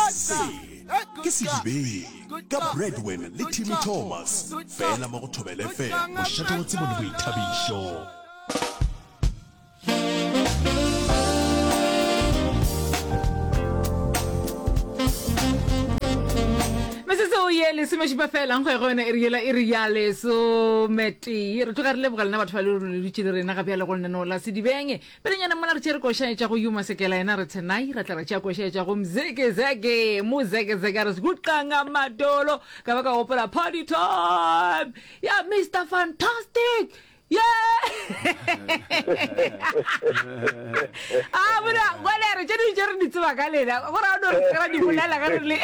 Se ke Sedibeng ka Bradwin le Timmy Thomas, fela mo go Thobela FM, mošate wa tsebo le boithabišo. Metsotso ye lesomešupa fela nkgo ya go yona e re yela e re ya lesometee. Re tloga re leboga lena batho ba le le dutše le rena ga bjale go lenaneo la Sedibeng. Pelenyana mola re tšere koša etša go Yuma Sekela yena re Tsenai ra tla ra tšea koša etša go Mzekezeke Mozekezeke a re Sguqanga Madolo ka ba ka gopola Party Time ya Mister Fantastic Yeah! A bona gone re tše dingwe tše re di tseba ka lena gore a no re se ra di bolela ge re le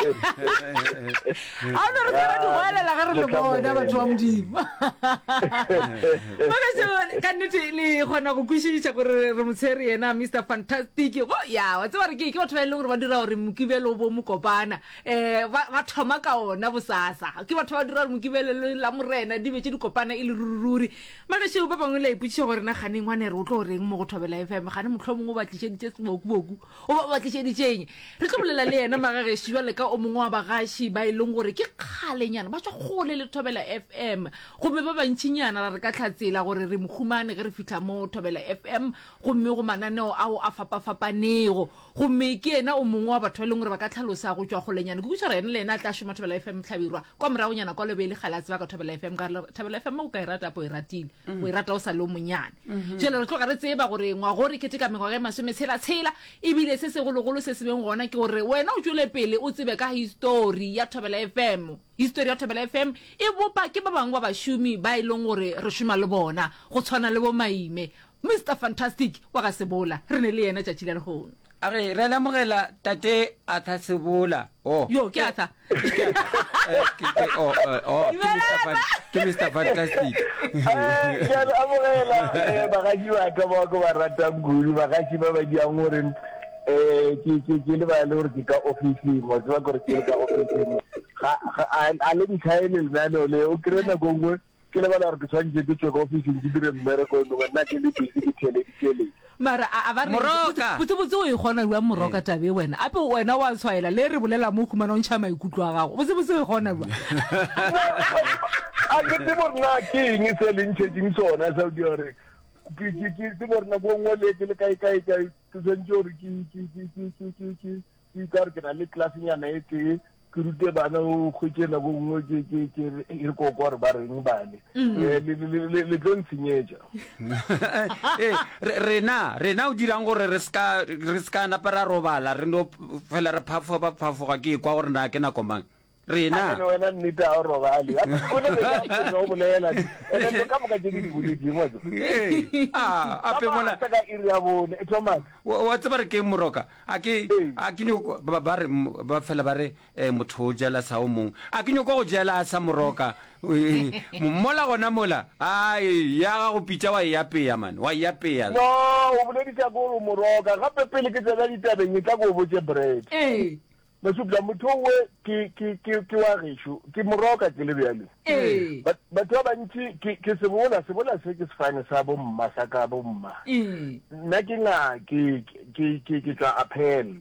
a no re se ra di goelela ge re le bona batho ba modimo Magašo, ka nnete le kgona go kwešiša gore re motshwere yena Mister Fantastic. Go ya, wa tseba re ke ke batho ba e leng gore ba dira gore Mokibelo o bo mokopana. Eh, ba, ba thoma ka ona bosasa. Ke batho ba dira gore Mokibelo le Lamorena di be tše di kopana e le ruri-ruri. Magašo, ba bangwe le a ipotšiša gore na kgane ngwane re o tlo reng mo go Thobela FM, kgane mohlomongwe o ba tlišeditše sebokuboku. O ba ba tlišeditšeng? Re tlo bolela le yena Magagešo bjale ka o mongwe wa bagaši ba e leng gore ke kgalenyana ba tšwa kgole le Thobela FM. Gomme ba bantšinyana ra re ka hlatsela gore re mo humane ge re fihla mo Thobela FM gomme go mananeo ao a fapafapanego. Gomme ke yena o mongwe wa batho ba e leng gore ba ka hlalosa go tšwa kgolenyana. Ke kwešiša gore yena le yena a tla šoma Thobela FM Hlabirwa kwa moragonyana kwa Lobele kgale a tseba ka Thobela FM ka gore Thobela FM o ka e rata apo e ratile. O e rata o sa le o monyane. Bjale re tloga re tseba gore ngwago re keteka mengwaga e masometshela-tshela, ebile se segologolo se se beng gona ke gore wena o tšwele pele o tsebe ka histori ya Thobela FM. Histori ya Thobela FM e bopa ke ba bangwe ba bašomi ba e leng gore re šoma le bona, go tshwana le bo Maime, Mister Fantastic wa ga Sebola, re ne le yena tšatši la lehono. A re, Re a le amogela, Tate Arthur Sebola. Oh. Yo, ke Arthur. Ke Arthur. Eh, ke, ke, oh, eh, oh, ke Mr. Fan, ke Mr. Fantastic. Eh, ke a le amogela, eh, bagatši ba ka bao ke ba ratang kudu, bagatši ba ba diang gore, eh, ke, ke, ke lebale gore ke ka ofising, wa tseba gore ke le ka ofising. Ga, ga, a, a le ntlhaele lenaneo le, o kry-e nako nngwe, Ke lebala gore ke swanetše ke tšwe ka ofising ke dire mmereko e mongwe, nna ke le busy ke theeleditše le. Mara a, a ba re Moroka! botse botse o e kgona bjang Moroka taba e wena? Ape wena wa tshwaela le re bolela mo o humana o ntšha maikutlo a gago. Botse botse o e kgona bjang? A ke tsebe gore na ke eng se le ntšhetšeng sona sa go dira gore ke, ke, ke tsebe gore nako e nngwe le ke le kae kae kae ke swanetše gore ke, ke, ke, ke, ke, ke, ke, ke ka gore ke na le class-nyana e tee ke rute bana o hwetše nako nngwe ke ke ke e re ko kwa gore ba reng bane mm. eh, le tlo ntshenyetša eh, rena rena o dirang gore re ska re ska napa ra robala re no fela re phafoga phafoga ke kwa gore na ke nako mang rena wena nnete a o robale o ne o bolela ene ka moka tse ke di boletseng wa a ape mola ka iri ya bone Thomas wa tseba re ke moroka A ke, a ke nyoko, ba, ba re, ba fela ba re, eh, motho o jela sa o mongwe. A ke nyoko go jela sa moroka. Eh, mola gona mola, ai, ya gago pitša wa e apea, man, wa e apea. No, o bolediša ke gore o moroka. Gape pele ke tsena ditabeng, etla ke o botše Brad. Ee. Masupla, motho owe ke, ke, ke, ke wa gešo. Ke moroka ke le bjale. Ee. Ba, batho ba bantši, ke, ke sebola, sebola se ke sefane sa bomma, sa ka bomma. Ee. Nna ke nga, ke, ke, ke, ke tšwa Appel,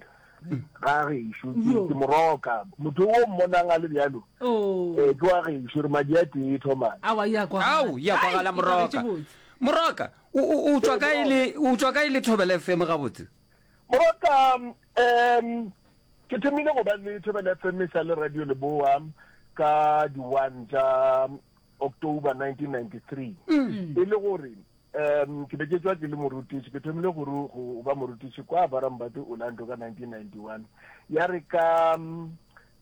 ga gešo. Ke, Yo. ke moroka. Motho o mmonang a le bjalo, Oh. eh, ke wa gešo, re madi a tee, Thomas. Aowa, ya kwagala. Ao, ya kwagala, Ai, e kwagetše Moroka. botse. Moroka, o, o, o tšwa kae le, o tšwa kae le Thobela FM gabotse? Moroka, um, ke thomile go ba le Thobela FM e sa le Radio Leboa ka di one tša October 1993. E le gore um ke be ke tšwa ke le morutiši, ke thomile go go ba morutiši kwa Barambati Orlando ka 1991. Ya re ka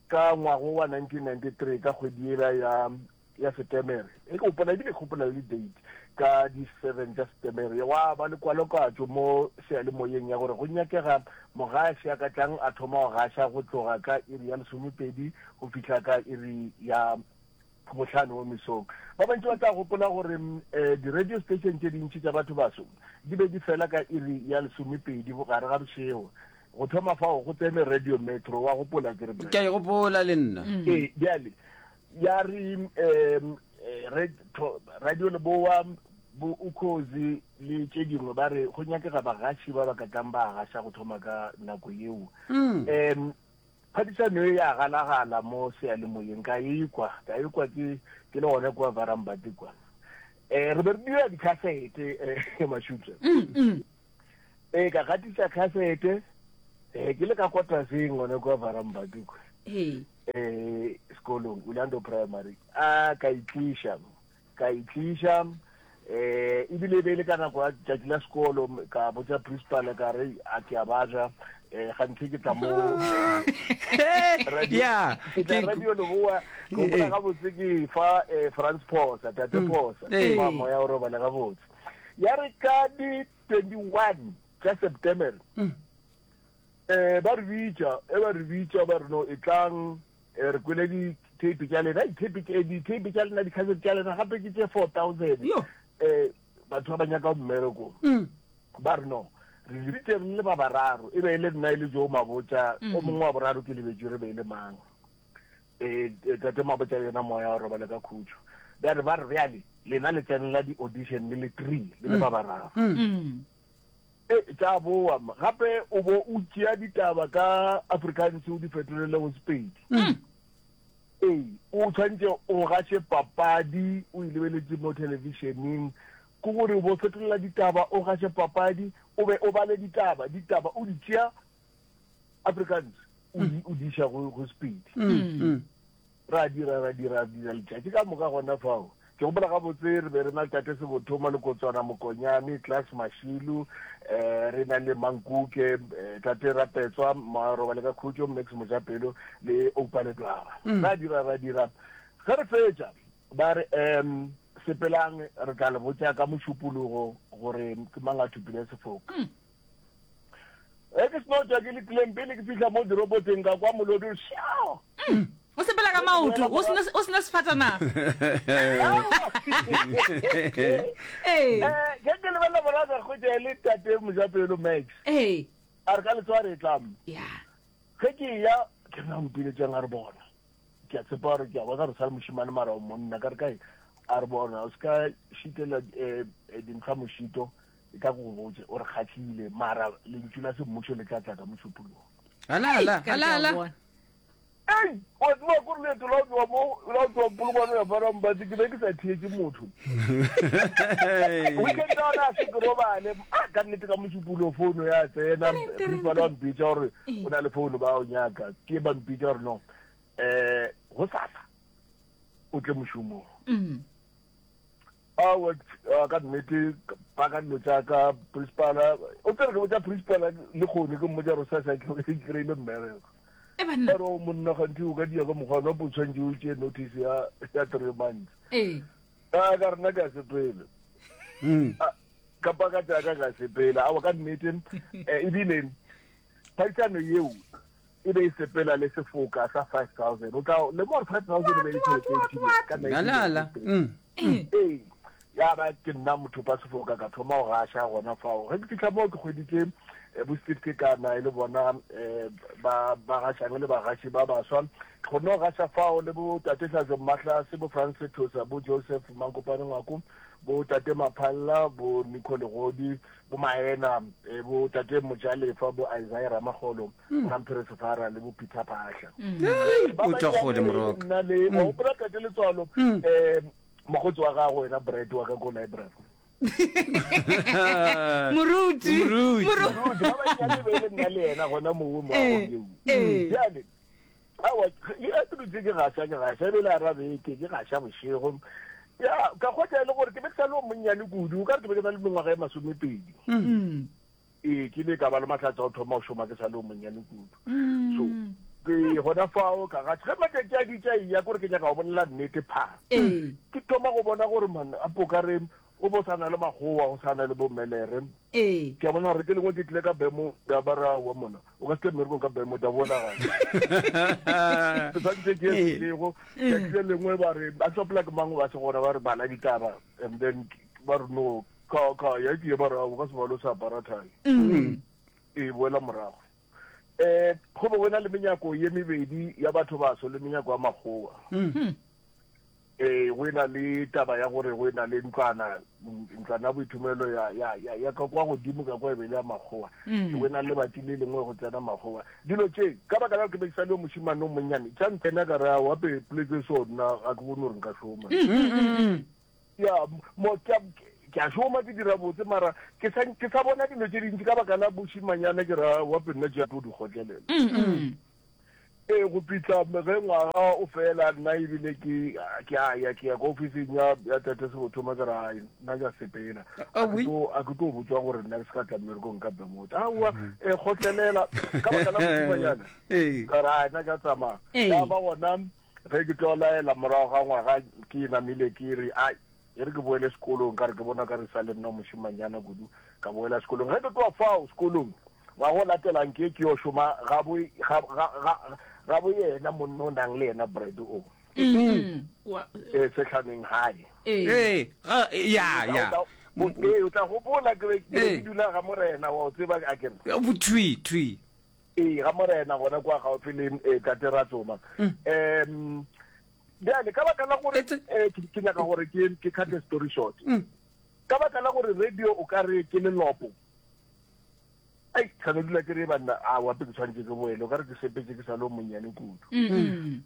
ka ngwago wa 1993 ka kgwedi yela ya ya Setemere, e ke gopola ebile ke gopola le date, ka di seven tša Setemere, gwa ba le kwalokatšo mo seyalemoyeng ya gore go nyakega mogaši a ka tlang a thoma go gaša go tloga ka iri ya lesomepedi go fihla ka iri ya bohlano mo mesong. Ba bantši ba tla gopola gore um di-radio station tše dintši tša batho baso di be di fela ka iri ya lesomepedi gare ga bošego. Go thoma fao go tsene Radio Metro, wa gopola ke re? Ke a e gopola le nna. Ee, bjale Ya re um re Radio Leboa, bo Ukhozi le tše dingwe ba re go nyakega bagaši ba ba ka tlang ba gaša go thoma ka nako yeo. Um mm. Phadišano e ya galagala mo seyalemoyeng, ka e kwa, ka e kwa ke, ke le gona kua Varambati kwa. Eh, re be re dira dikhasete, eh, Mashupja. Mm, mm. Eh, ka gatiša khasete, eh, ke le ka kwataseng gona kua Varambati kwa. Ee. Eh, sekolong, Orlando Primary. A, ka itliša. Ka itliša, eh, ebile e be e le ka nako ya tšatši la sekolo, ka botša principal ka re, a ke a babja, eh, ganthe ke tla mo, eh, radio, Ya, ke tla ke- radio Leboa, ke gopola Eh. gabotse ke fa, eh, Frans Phosa, tate Phosa, Eh. fa moya o robale gabotse. Ya re ka di 21 tša September, eh, ba re bitša, e ba re bitša, ba re no, etlang, Eh, re kwele di-tape tša lena di-tape eh, di-tape tša lena di-cassette tša lena gape ke tše 4000 Yo. eh batho ba ba nyaka mmereko Mm. ba re no re lebitse re le ba bararo e be e le nna e le jo mabotša o mongwe wa boraro ke lebetše re be e le mang eh eh, tate mabotša le yena moya o robale ka khutšo bjale ba re bjale lena le tsenela di-audition le le three le le ba bararo Mm. E, tša boa. Gape o bo o tšea ditaba ka Afrikaans o di fetolele go Sepedi. Ee, o tshwanetse o gaše papadi o e lebeletše mo thelebišeneng. Ke gore o bo fetolela ditaba, o gaše papadi, o be o bale ditaba, ditaba o di tšea Afrikaans o di, o di iša go, go Sepedi. Ra dira, ra dira, ra dira letšatši ka moka gona fao. Ke gopola gabotse re be re na le Tate Sebotho, Malokotswana, Mokonyane, Klaas Mashilu, eh, re na le Mankuke, eh, Tate Rapetswa, Marobale ka Khutšo, Max Mojapelo le Oupa Ledwaba. Ra dira, ra dira. Ge re fetša, ba re, um, sepelang, re tla le botša ka Mošupologo gore ke mang a thopile sefoka. Ge ke seno tšwa ke letileng pele ke fihla mo diroboteng ka kwa molodi o šao. Mm. O sepela ka maoto o sena o sena sefatanaga. Ee. Eh, ge ke lebelela morago ka hwetša e le tate Mojapelo Max. Ee. A re ka letsoa re tla mo. Ya. Ge ke eya ke re na o mpiletšang a re bona. Ke a tshepa gore ke a bona re sa le mošemane mara o monna ka re kae a re bona o se ka šitela eh, eh, dintlha mošito E tla go botše, o re kgahlile, mara lentšu la semmušo le tla tla ka Mošupologo. Ala, ala, ala, ala. Ei, wa tseba kore leeto la go tloga mo, la go tloga Polokwane go ya Farambati, ke be ke sa theetše motho. Weekend ya gona a se ke robale, ah, ka nnete ka Mošupologo founu ya tsena, principal wa mpitša gore o na le founu ba o nyaka, ke ba mpitša gore no, eh, gosasa o tle mošomong. Aowa, ka nnete, paka dilo tša ka, principala, o tsere ke botša principala le kgone ke mmotša gore sasa ke kry-ile mmereko. E banna. A re o monna ganthe o ka dia ka mokgwa wa o tshwanetse o tšee notice ya ya three months. Ee. A ka rena ka sepele. Mm. Ka paka tša ka ka sepela. Aowa ka nnete, eh, ebile phadišano yeo e be e sepela le sefoka sa 5000 o tla lemoga gore 5000 e be e le tšhelete e ntši ka Ala, ala. 1993 Mm. ee ya ba ke nna mothopa sefoka ka thoma go gaša gona fao ge ke fihla moo ke hweditše eh, bo Steve Kekana e le bona eh, ba ba gašang le bagaši ba baswa ke kgonne go gaša fao le bo tate Hlazo Mmahlase bo Frans Sethosa bo Joseph Mankopane Ngwako bo tate Maphalla bo Nico Legodi bo Maena eh, bo tate Mojalefa bo Isaiah Ramagolo mm. Ramphere Sefara le bo Peter Phahla mm. o tšwa kgole moroka nna le wa gopola tate Letswalo mm. eh mokgotsi wa gago wena Brad wa ka ko library moruti Moruti. Moruti, ba bannyane be le nna le yena gona mowe mo Eh, eo eh. bjale aowa ke ke dutse ke gaša ke gaša ebile a ra beke ke gaša bošego ya ka kgotsa e le gore ke be ke sa le o monnyane kudu o ka re ke be ke na le mengwaga e masomepedi Mm. ee ke ile ka ba le mahlatse a go thoma go šoma ke sa le o monnyane kudu Mm. so ke gona fao ka gaša ge matšatši a ditša eya kore ke nyaka go bolela nnete pha Ee. ke thoma go bona gore man a po ka re go bo sa na le makgowa go sa na le bomelere Ee. ke a bona gore ke lengwe ke tlile ka bemo ya ba ra wa mona o ka se tle mmerekong ka bemo ta bona ke santse ke ye sego tšatši le lengwe ba re a tsopela ke mang ba se gona ba re bala ditaba and then ba re no ka ka ya ke ye ba re o ka se balo sa apara thai e boela morago eh go be go na le menyako ye mebedi ya batho baso le menyako ya makgowa. Ee, go e na le taba ya gore go e na le ntlwana, ntlwana ya boithomelo ya, ya, ya, ya ka kwa godimo ka kwa e be le ya makgowa. Mm. Go e na le lebati le lengwe go tsena makgowa. Dilo tše, ka baka la gore ke be ke sa le yo mošemane o monnyane, tša ntsena ka re, aowa, pe, poleke so nna ga ke bone gore nka šoma. Mm, mm, mm, mm. Ya, mo, ke a, ke a šoma, ke dira botse, mara ke sa, ke sa bona dilo tše dintši ka baka la bošemanyana, ke re, aowa, pe nna tše tlo di kgotlelela. Mm, mm. Ee, go fihla ge ngwaga o fela, nna ebile ke, ke a ya, ke ya ko ofising ya, ya Tate Sebothoma, ke re, Ai, nna ke a sepela. A ke tlo, a ke tlo botšwa gore nna ke se ka tla mmerekong ka Bermuda. Aowa, e, kgotlelela, ka baka la mošimanyana. Ka re, Ai, nna ke a tsamaya. Ya ba gona ge ke tlo laela morago ga ngwaga, ke namile ke re, Ai, E re ke boele sekolong, ka re ke bona ka re sa le nna mošemanyana kudu, ka boela sekolong. Ge ke tloga fao sekolong, ngwaga o latelang ke ke yo šoma ga bo, ga, ga, ga, ga bo yena monna o nang le yena Brad o. Mm. E, Sehlaneng High. Ee, ga, ya, ya. Ee, o tla gopola ke be ke be ke dula ga Morena, wa o tseba a ke re. Thwi, thwi. Ee, ga Morena gona kwa gaufi le eh, Tate Ratsoma. Um Bjale, ka baka la gore eh, ke nyaka gore ke ke cut the story short. Mm. Ka baka la gore radio o ka re ke lelopo. Ai, ka no dula ke re banna a wa ke tshwanetse ke boele, o ka re ke sepetse ke sa le o monnyane kudu. Mm.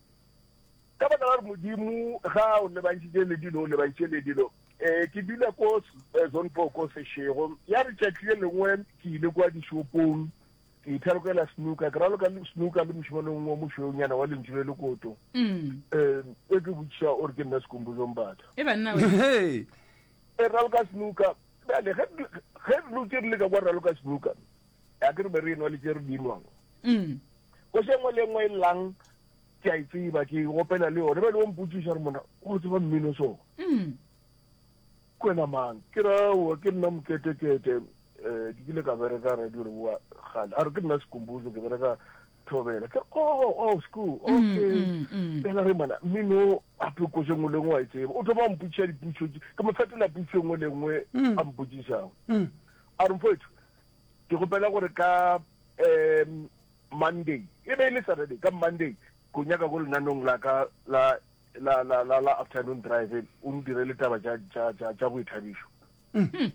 Ka baka la gore Modimo ga o lebantšhitše le dilo, o lebantšhitše le dilo. Eh, ke dula ko eh, zone 4 ko Seshego. Ya re tšatši le lengwe ke ile kwa dishopong Ke ithalokela snooker, ke raloka le snooker le mošemane o mongwe o mošweunyana wa lentšu le lekoto. Mm. Um, e ke botšiša o re ke nna Sikhumbuzo Mbatha. E banna we. Hey. E raloka snooker, bjale ge ge re dutše re le ka kwa raloka snooker, a ke re be re enwa le tše re di nwang. Mm. Koša e nngwe le e nngwe e llang ke a e tseba, ke e opela le yone. Bjale o mpotšiša re monna, o tseba mmino so? Mm. Ke wena mang? Ke re, Aowa, ke nna Moketekete. Um ke kile ka bereka radio Leboa kgale. A re, Ke nna Sikhumbuzo, ke bereka Thobela. Ke re, Oh, oh, Sku, okay. Fela re mana, mmino gape koša e nngwe le e nngwe wa e tseba. O thoma a mpotšiša dipotšišo tše, ke mo fetola potšišo e nngwe le e nngwe a mpotšišago. A re, Mfowethu, ke kgopela gore ka um Monday, e be e le Saturday, ka Monday, ke o nyaka ko lenanong la ka la la, la, la, la afternoon drive, o ntirele taba tša, tša, tša, tša boithabišo. Mm.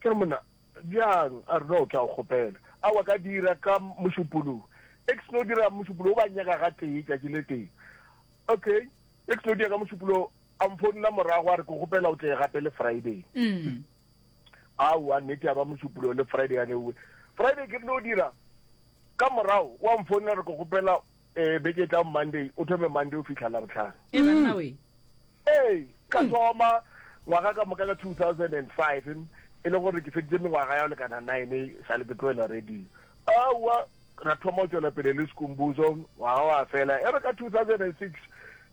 Ke re, Monna, bjang? A re, No, ke a go kgopela. Aowa, ka dira ka Mošupologo. E ke seno dira Mošupologo, ba nnyaka gatee, tšatši le tee. Okay, e ke seno dira ka Mošupologo, a mfounela morago a re, Ke kgopela o tle gape le Friday. Mm. Aowa, nnete ya ba Mošupologo le Friday ya neuwe. Friday ke rile o dira, ka morago wa mfounela re, Ke kgopela Ee, beke e tlang Monday, o thome Monday o fihla Labohlano. E banna we. Ee, ka thoma ngwaga ka moka ka 2005, e le gore ke feditše mengwaga ya go lekana nine sa le ke tlohela radio. Aowa, ra thoma go tšwela pele le Skhumbuzo, ngwaga wa fela. E re ka 2006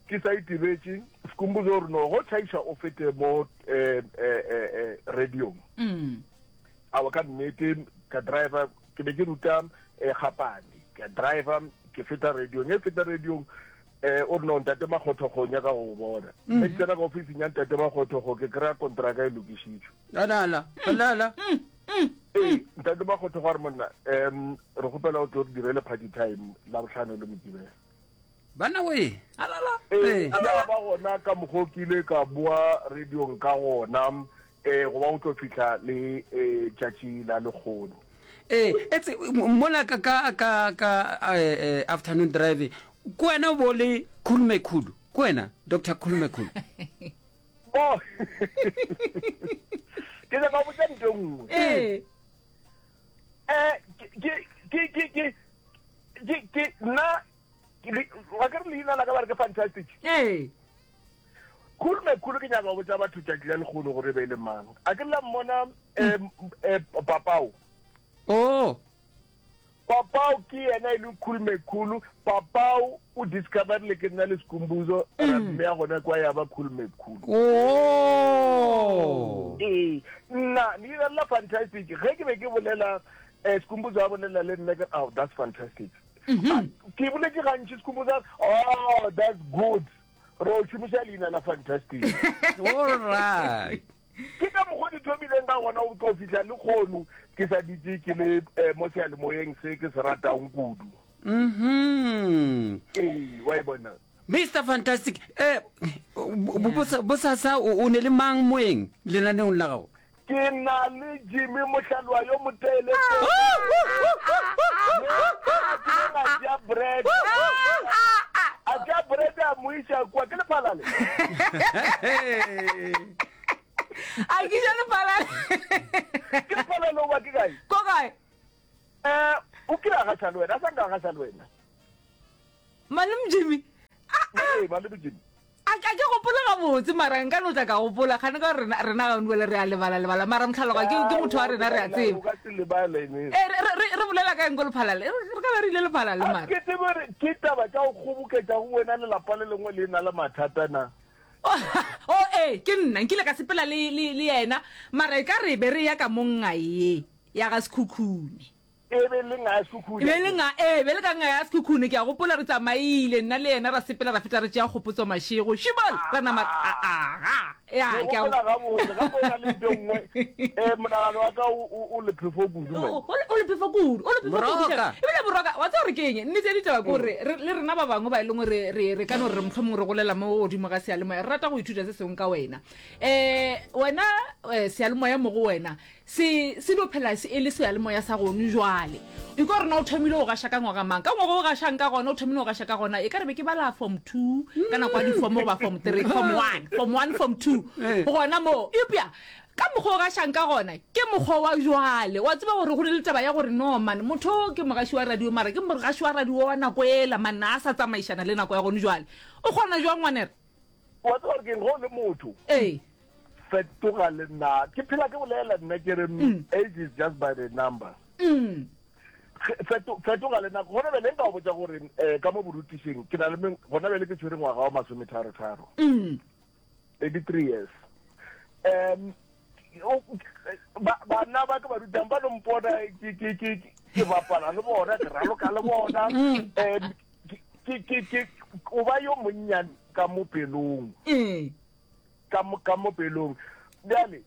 ke sa itebetše, Skhumbuzo o re no, go tšhaiša o fete mo eh, eh, eh, eh, radiong. Mm. Aowa, ka nnete, ka driver, ke be ke ruta eh, Gapane, ka driver, ke feta radiong, e feta radiong, eh, o re no, Ntate Makgothokgo o nyaka go go bona. Mm. Ge ke tsena ka ofising ya Ntate Makgothokgo, ke kry-a kontraka e lokišitšwe. Alala, alala. Ee, Ntate Makgothokgo a re monna, um re kgopela o tlo re direle party time Labohlano le Mokibelo. Banna we. Alala. Ee, ya ba gona ka mokgwa o ke ile ka boa radiong ka gona, Ee, go ba go tlo fihla le eh, tšatši la lekgono. Ee, etse mola ka ka ka ka eh, eh, afternoon drive ke wena o bo le Khulu Mekhulu, ke wena Doctor Khulu Mekhulu. Oh. Ke nyaka go botša nto e nngwe. Ee. Eh, ke ke ke ke ke ke nna ke le- wa ke re leina la ka ba re ke fantastic. Ee. Khulu Mekhulu ke nyaka go botša batho tšatši la lekgono gore e be e le mang. A ke la mmona um Papao. Oh. Papao ke yena e leng Khulu Mekhulu. Papao o discoverile ke nna le Skhumbuzo ra mmea gona kwa ya ba Khulu Mekhulu. Oh. Ee, nna leina la fantastic ge ke be ke bolela um Skhumbuzo a bolela le nna ke oh that's fantastic. Ke boletše gantši Skhumbuzo a re oh that's good. Ro šomiša leina la Fantastic. All right. Ke ka mokgwa di thomileng ka gona go tlo fihla le kgono ke sa ditše ke le eh, mo seyalemoyeng se ke se ratang kudu. Mhm. Ee, wa e bona. Mister Fantastic, eh, bosasa o ne le mang moeng lenaneong la gago? Ke na le Jimmy Mohlalwa yo motele. A tšea bread. A tšea bread a mo iša kwa ke lephalale. A kiša lephalale. Ke lephalale o ba ke kae? Ko kae? Eh, o kile a gaša le wena, a sa nka a gaša le wena. Malome Jimmy. Ee, Malome Jimmy. A ka ke gopole gabotse mara nka no tla ka gopola kgane ka rena rena ga bjale re a lebala lebala mara motlhaloga ke ke motho wa rena re a tseba. O ka se lebale ne. Eh re re re bolela ka eng ko lephalale? Re ka ba re ile lephalale mara. Ke tsebe gore ke taba tša go kgoboketša go wena lelapa le lengwe le na le mathata na. O ee ke nna nkile ka sepela le le le yena mara e ka re be re ya ka mo ngae ya ga Sekhukhune. E be le nga ya Sekhukhune. E be le nga, ee, be le ka nga ya Sekhukhune. Ke a gopola re tsamaile, nna le yena ra sepela ra feta re tšea Kgopotso Mashego. Šibol! Ra nama, a, aga. Ya, Ke ke a. gopola gabotse, gape o na le nto nngwe, eh, monagano wa ka o, o, o lephefo kudu, man. O, o, o lephefo kudu, o lephefo kudu. Moroka. Ebile Moroka, wa tseba gore ke eng? Nnete ya ditaba ke gore re, le rena ba bangwe ba e leng gore re, re ka no re re mohlomongwe re golela mo godimo ga seyalemoya, re rata go ithuta se sengwe ka wena. Eh, wena, eh, seyalemoya mo go wena, Se, se no phela se e le seyalemoya sa gonu jwale. Ikwa gore na o thomile go gaša ka ngwaga mang. Ka ngwaga o gašang ka gona, o thomile go gaša ka gona, e ka re be ke bala form two, ka nako ya di-form goba form three, form one, form one, form two, gona moo. Eupša ka mokgwa o gašang ka gona, ke mokgwa wa jwale. Wa tseba gore go ne le taba ya gore no man, motho o ke mogaši wa radio, mara ke mogaši wa radio wa nako ela man, a sa tsamaišana le nako ya gonu jwale. O kgona jwang ngwanere? Wa tseba gore ke eng, ge o le motho, Ee. fetoga le nna. Ke phela ke bolela nna ke re age is just by the number. Feto, fetoga le nako. Gona bjale nka go botša gore um ka mo borutišing ke na le meng, gona bjale ke tshwere ngwaga wa masometharo-tharo. 33 years. Um bana ba ke ba rutang ba no mpona ke ke ke ke bapala le bona, ke raloka le bona. Um ke ke ke o ba yo monnyane ka mo pelong. Ka mo, ka mo pelong. Bjale,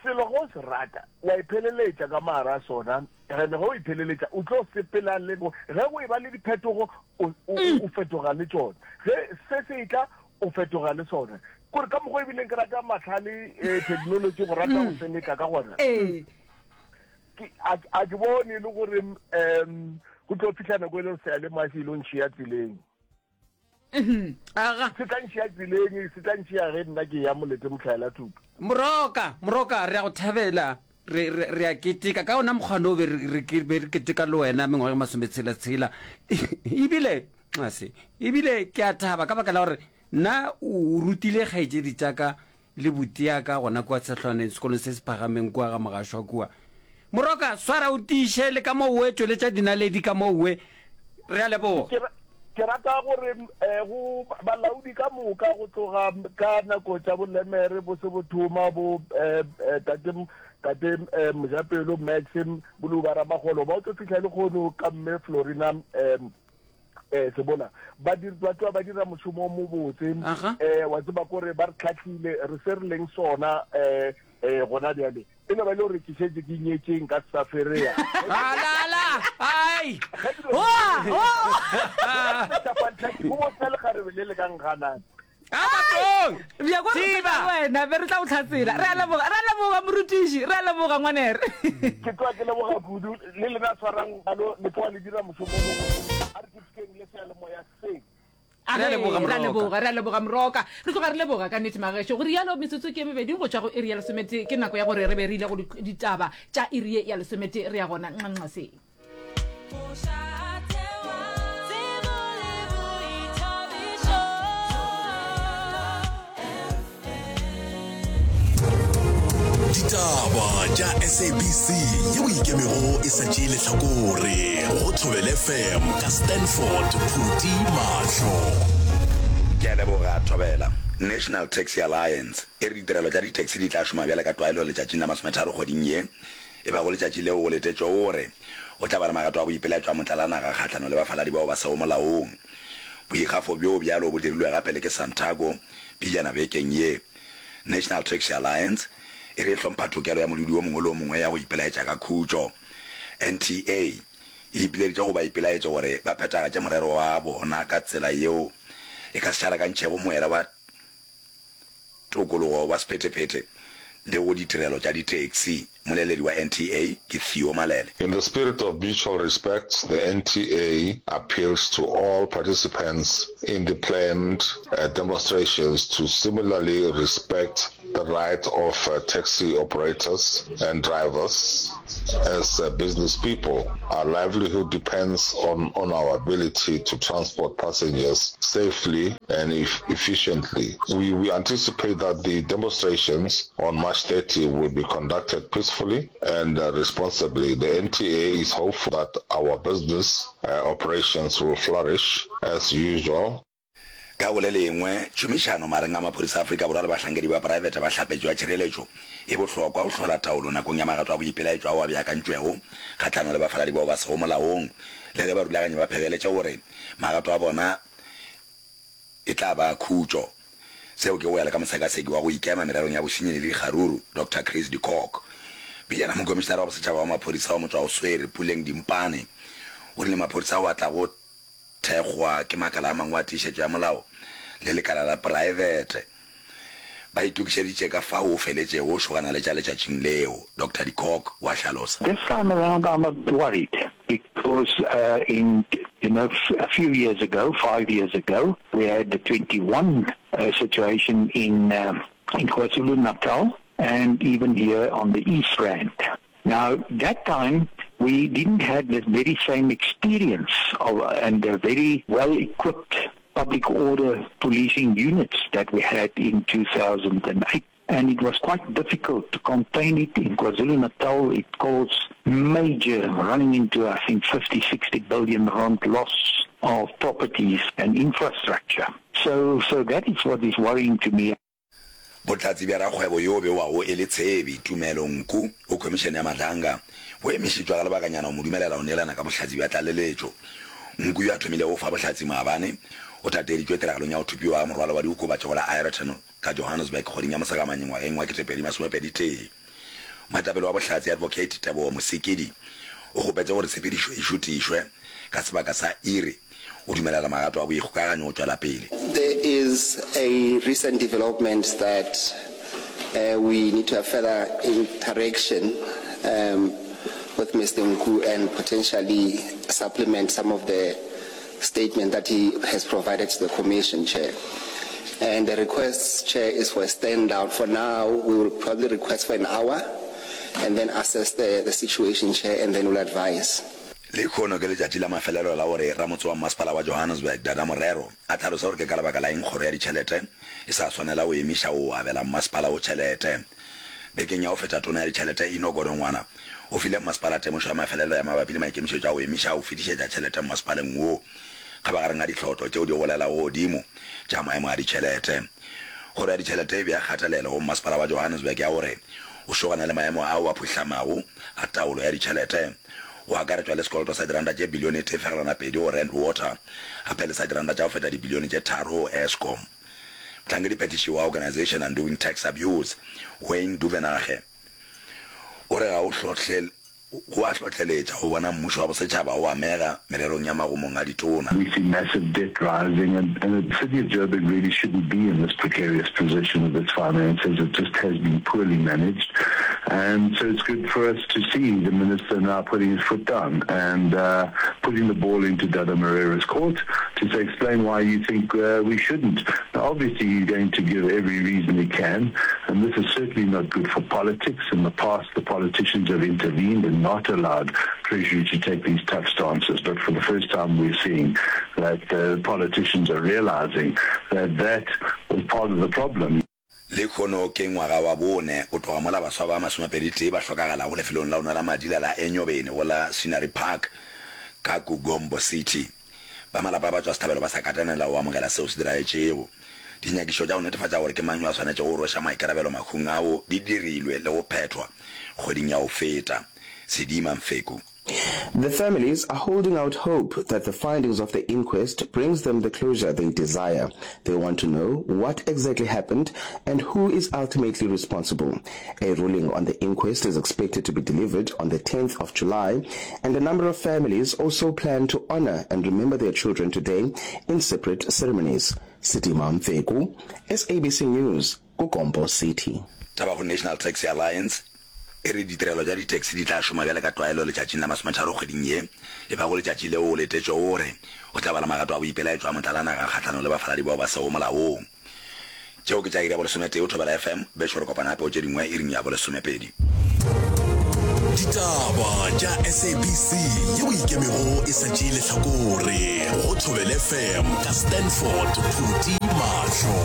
selo ge o se rata, wa ipheleletša ka mogare a sona. Ene ge o ipheleletša, o tlo sepela le bo. Ge go eba le diphetogo, o, o, o fetoga le tšona. Ge se se etla, o fetoga le sona. Kore ka mokgwa ebileng ke rata mahlale, eh, technology, go rata go seleka ka gona. Ke, a, a ke bone e le gore, um, go tlo fihla nako e le gore seyalemoya se ilo ntšhia tseleng. Aga. Se tla ntšhia tseleng, se tla ntšhia ge nna ke ya molete mohlaela thuto. Moroka, Moroka, re a go thabela, re, re, re a keteka. Ka ona mokgwa o be re, re, ke, be re keteka le wena mengwaga e masometshela-tshela. Ebile, nxase, ebile ke a thaba ka baka la gore nna o rutile kgaetšedi tša ka Le butiaka gona kua Tshehlwaneng, sekolong se se phagameng kua ga Mogašwa kua. Moroka, swara o tiiše le ka moo we tšweletša dinaledi ka moo we. Re a leboga. Ke, ke rata gore eh, go balaodi ka moka go tloga ka nako tša boLemere bo se bo thoma bo eh, eh, tate tate eh, Mojapelo Max Boluba Ramagolo ba o tlo fihla le kgono ka mme Florina eh, eh sebola ba dir ba tloa ba dira mošomo o mobotse eh wa tseba kore ba re tlhahlile re se re leng sona eh eh gona bjale e no ba le gore ke šetše ke nyetšeng ka sa ferea alala ai go botsa lekgarebe le le ka nganang wena be re tla go tlhatsela re a leboga re a leboga morutiši re a leboga ngwanere ke tloa ke leboga kudu le lena tshwarang alo le tloa le dira mošomo a re ketekeng le seyalemoya se Re a leboga, re a Moroka. leboga re a leboga moroka re tloga re leboga ka nnete magešo go rialo metsotso ke e mebedi go tšwa go iri ya lesomete ke nako ya gore re be re ile go ditaba tša iri ye ya lesomete re ya gona nxanxaseng Ditaba tša SABC yeo ikemego e sa tšee lehlakore go Thobela FM ka Stanford Phuti Mahlo. Ke a leboga Thobela. National Taxi Alliance e re ditirelo tša di-taxi di tla šoma bjale ka tlwaelo letšatšing la masometharo kgweding ye. E bago letšatši leo go letetšwego gore go tla ba le magato a boipelaetšo a motlalanaga kgahlanong le bafaladi bao ba sego molaong. Boikgafo bjo bjalo bo dirilwe gape le ke Santaco pejana bekeng ye. National Taxi Alliance e re e hlompha tokelo ya modudi o mongwe le o mongwe ya go ipelaetša ka khutšo. NTA e ipileditše go baipelaetši gore ba phethagatše morero wa bona ka tsela yeo. e ka se šarakantšhego moela wa tokologo wa sephethephethe le go ditirelo tša ditaxi. Moleledi wa NTA ke Theo Malele. In the spirit of mutual respect, the NTA appeals to all participants in the planned demonstrations to similarly respect the right of taxi operators and drivers as business people. Our livelihood depends on, on our ability to transport passengers safely and efficiently. We, we anticipate that the demonstrations on March 30 will be conducted peacefully and uh, responsibly. The NTA is hopeful that our business uh, operations will flourish as usual. Ka go le lengwe, tšhomišano magareng a maphodisa a Afrika Borwa le bahlankedi ba praebete ba hlapetšo ya tšhireletšo e bohlokwa go hlola taolo nakong ya magato a boipelaetšo ao a beakantšwego kgahlanong le bafaladi bao ba sego molaong, le ge barulaganyi ba phegeletše gore magato a bona e tla ba a khutšo. Seo ke go ya le ka mosekaseki wa go ikema mererong ya bosenyi le dikgaruru, Doctor Chris de Kock. Pejana Mokomišinara wa Bosetšhaba wa Maphodisa wa Motšwaoswere, Puleng Dimpane, o rile maphodisa ao a tlago thekgwa ke makala a mangwe a tiišetšo ya molao le lekala la praebete. Ba itokišeditše ka fao o feletšego go šogana le tša letšatšing leo, Doctor de Kock wa hlalosa. This time around I'm a bit worried because in you know a few years ago, 5 years ago, we had the 21 situation in in KwaZulu-Natal and even here on the East Rand. Now, that time we didn't have the very same experience of, and the very well-equipped public order policing units that we had in 2008. And it was quite difficult to contain it. In KwaZulu-Natal, it caused major, running into, I think, 50, 60 billion rand loss of properties and infrastructure. So, so that is what is worrying to me. Bohlatse bja rakgwebo yo bewago e le tshebi, Tumelo Nku, go Khomišene ya Madlanga, bo emišitšwe ga lebakanyana go mo dumelela go neelana ka bohlatse bja tlaleletšo. Nku yo a thomilego go fa bohlatse maabane, o tateeditšwe tiragalong ya go thopiwa ga morwalo wa diokobatši go la Aeroton ka Johannesburg kgweding ya Mosegamanye ngwageng wa 2021. Moetapele wa bohlatse Advocate Teboho Mosekedi o kgopetše gore tshepedišo e šutišwe ka sebaka sa iri go dumelela magato a boikgokaganyo go tšwela pele. There is a recent development that we need to have further interaction with Mister Nku and potentially supplement some of the statement that he has provided to the commission, Chair. And the request, Chair, is for a stand down. For now, we will probably request for an hour and then assess the, the situation, Chair, and then we'll advise. Lehono ke letšatši la mafelelo la gore ramotse wa mmasepala wa Johannesburg, Dada Morero, a hlalose gore ke ka lebaka la eng kgoro ya ditšhelete e sa swanela go emiša go abela mmasepala wo tšhelete. Bekeng ya go feta tona ya ditšhelete Enoch Godongwana o file mmasepala temošo ya mafelelo ya mabapi le maikemišetšo a go emiša go fetišetša tšhelete mmasepaleng wo kgabagareng ga dihlotlo tšeo di golelago godimo tša maemo a ditšhelete. Kgoro ya ditšhelete e bea kgatelelo go mmasepala wa Johannesburg ya gore o šogane le maemo ao a phuhlamago a taolo ya ditšhelete, go akaretšwa le sekoloto sa diranta tše bilione e tee fegelwana pedi go Rand Water gape le sa diranta tša go feta dibilione tše tharo go Eskom. Mohlankedi-phethiši wa Organisation Undoing Tax Abuse, Wayne Duvenage, o re ga o hlohle Go a hlohleletša go bona mmušo wa bosetšhaba o amega mererong ya magomong a ditona. We see massive debt rising and and the city of Joburg really shouldn't be in this precarious position with its finances. It just has been poorly managed and so it's good for us to see the minister now putting his foot down and uh, putting the ball into Dada Moreira's court to say explain why you think uh, we shouldn't. Now obviously he's going to give every reason he can and this is certainly not good for politics. In the past the politicians have intervened and not allowed Treasury to take these tough stances. But for the first time, we're seeing that the politicians are realizing that that was part of the problem. Lehono ke ngwaga wa bone go tloga mola baswa ba masomepeditee ba hlokagalago lefelong la go nwela madila la Enyobeni go la Scenery Park ka Kugombo City. Ba malapa a batšwasehlabelo ba sa katanela go amogela seo se diragetšego. Dinyakišo tša go netefatša gore ke mang yo a swanetšego go rweša maikarabelo mahung ao di dirilwe le go phethwa kgweding ya go feta. Sedima Mfeku. The families are holding out hope that the findings of the inquest brings them the closure they desire. They want to know what exactly happened and who is ultimately responsible. A ruling on the inquest is expected to be delivered on the 10th of July, and a number of families also plan to honor and remember their children today in separate ceremonies. Sidima Mfeku, SABC News, KuGompo City. Taba go National Taxi Alliance e re ditirelo tša di-taxi di tla šoma bjale ka tlwaelo letšatšing la masometharo kgweding ye, e bago letšatši leo o letetšwego gore go tla ba le magato a boipelaetšo a motlalanaga kgahlanong le bafaladi bao ba sego molaong. Tšeo ke tša iri ya bolesometee go Thobela FM, bešo re kopana gape go tše dingwe iring ya bolesomepedi. Ditaba tša SABC yeo ikemego e sa tšee lehlakore go Thobela FM ka Stanford Phuti Mahlo.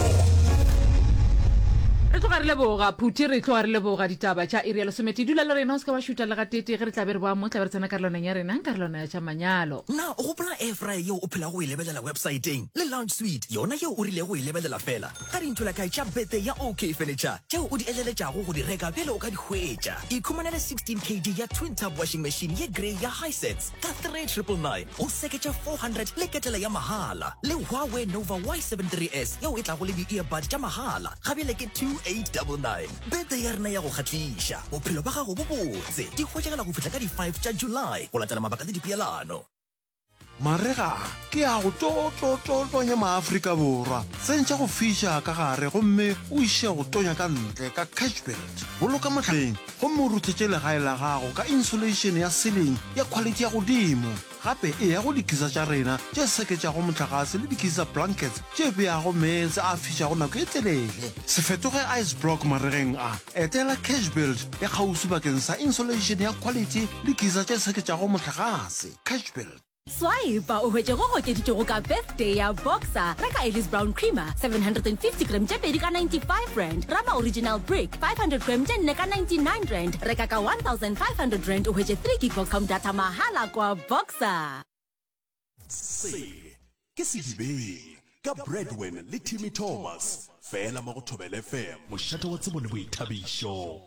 Re tloga re leboga Phuti, re tloga re leboga ditaba tša iri ya lesometee. Dula le rena o se ke wa šuta le gateetee ge re tla be re boa mo, tla be re tsena karolwaneng ya rena, karolwana ya tša manyalo. Na o gopola air fryer yeo o phelago o e lebelela websaeteng le lounge suite yona yeo o rilego o e lebelela feela ka dintholakae tša birthday ya OK Furniture tšeo o di eleletšago go di reka bjale o ka di hwetša. Ikhumanele 16 kg ya twin tub washing machine ye grey ya Hisense ka 3999 o seketše 400 le ketele ya mahala le Huawei Nova Y73s yeo e tlago le di-earbud tša mahala ga bjale ke 2899. Birthday ya rena ya go kgahliša, bophelo bja gago bo botse di hwetšagala go fihla ka di 5 tša July go latela mabaka le dipeelano. Marega a ke a go to-to-to-tonya maAfrika Borwa. Tsentšha go fiša ka gare gomme o iše go tonya ka ntle ka Cashbuild. Boloka mohleng gomme o ruthetše legae la gago ka insulation ya ceiling ya khwalithi ya godimo. Gape eya go dikisa tša rena tše seketšago mohlagase le dikisa blankets tše beago meetse a fišago nako e telele. Se fetoge ice block maregeng a. Etela Cashbuild ya kgauswi bakeng sa insulation ya khwalithi le kisa tše seketšago mohlagase. Cashbuild. Swipa o hwetše go gokeditšwego ka birthday ya Boxer. Reka Ellis Brown Creamer 750 gram tše pedi ka R95, Rama Original Brick 500 gram tše nne ka R99. Reka ka R1500 o hwetše 3 gig Vodacom data mahala kwa Boxer. Se ke Sedibeng ka Bradwin le Timmy Thomas, fela mo go Thobela FM, mošate wa tsebo le boithabišo.